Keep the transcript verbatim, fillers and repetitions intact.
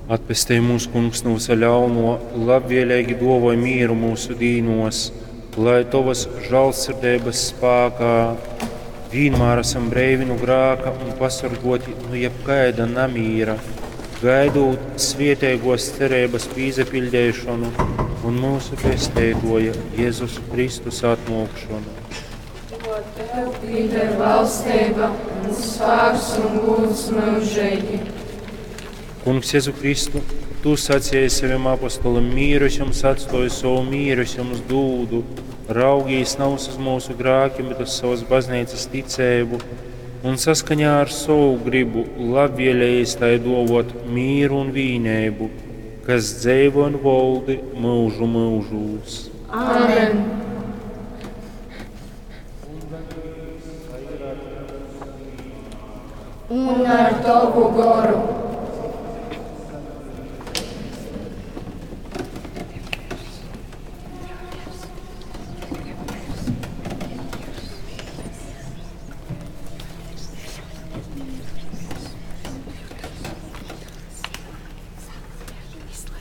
Atpestej mūs, Kungs, nu vysa ļaunuo, labvieleigi duovoj mīru myusu dīnuos, lai Tovys žālsirdeibys spākā vīnmār asam breivi nu grāka un pasorguoti nu jebkaida namīra, gaidūt svieteiguos cereibys pīsapiļdeišonu un myusu Pesteituoja Jezus Kristus atnuokšonu. Jo Tev pīder valsteiba un spāks un gūds myužeigi. Kungs Jezu Kristu, Tu sacēji savim apostolim, mīru es jums atstoju, sovu mīru es jums dūdu. Raugīs navys uz mūsu grākim, bet uz savas bazneicas ticeibu un saskaņā ar sovu gribu labvēlējies tai dovot mīru un vīneibu, kas dzeivo un voldi mūžu mūžūs. Āmen! Un ar Tavu goru.